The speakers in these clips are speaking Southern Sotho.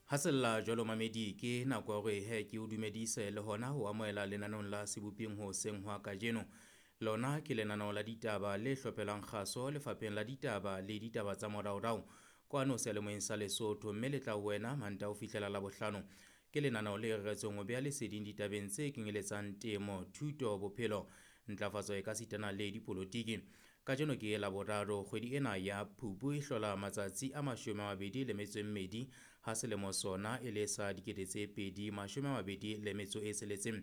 Ha sella jwalo mamedi ke nako ya hore he ke o dumedise le hona ho amohela lenaneong la Seboping hoseng hwa kajeno. Lona ke lenaneo la ditaba le hlophelang kgaso lefapheng la ditaba le ditaba tsa moraorao kwano seyalemoyeng sa Lesotho, mme le tla ho wena Mantaha ho fihlela Labohlano. Ke lenaneo le reretsweng ho beha leseding ditabeng tse kenyeletsang temo, thuto, bophelo, ntlafatso e ka sitana le dipolotiki. Kajeno ke Laboraro, kgwedi ena ya Phupu e hlola matsatsi a 22 ha selemo sona e le sa 2026.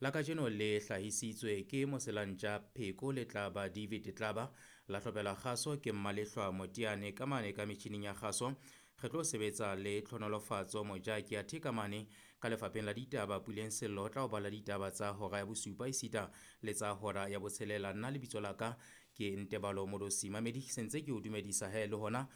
La kajeno le hlahisitswe ke Moselantja Pheko le Tlaba David Tlaba, la hlophela kgaso ke Mmalehlwa Motiane ka mane ka metjhining ya kgaso. Re tlo sebetsa le Tlhonolofatso Mojaki athe ka mane ka lefapheng la ditaba Puleng Sello o tla o bala ditaba tsa hora ya bosupa esita le tsa hora ya botshelela. Nna lebitso la ka ke Ntebalo Modosi. Mamedi sentse ke o dumedisa he le hona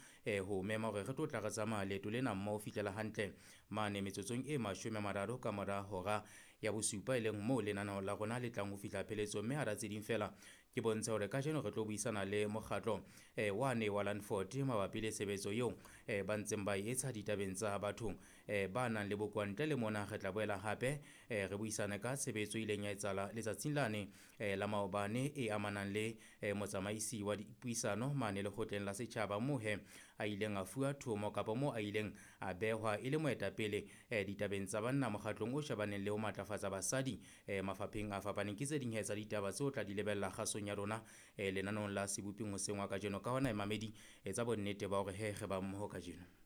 ho mema hore re tlo tla re tsamaya leeto lena mmoho fihlela hantle mane metsotsong e 30 ka mora hora ya bosupa, e leng moo lenaneo la rona le tlang ho fihla pheletsong. Mme hara tse ding fela ke bontshe hore kajeno re tlo buisana le mokgatlo wane wa Landford mabapi le tshebetso eo ba ntseng ba etsa ditabeng tsa batho ba nang le bokowa. Ntle le mona re tla boela hape re buisane ka tshebetso e ileng ya etsahala letsatsing lane la maobane e amanang le motsamaisi wa dipuisano mane lekgotleng la setjhaba, moo he a ileng a fuwa thomo kapa moo a ileng a behwa e le moetapele ditabeng tsa banna mokgatlong o shebaneng le ho matlafatsa basadi mafapheng a fapaneng. Ke tse ding he tsa ditaba tseo tla di lebella kgasong ya rona lenaneong la Seboping hoseng wa kajeno. Ka hona mamedi etsa bonnete ba hore he re ba mmoho kajeno.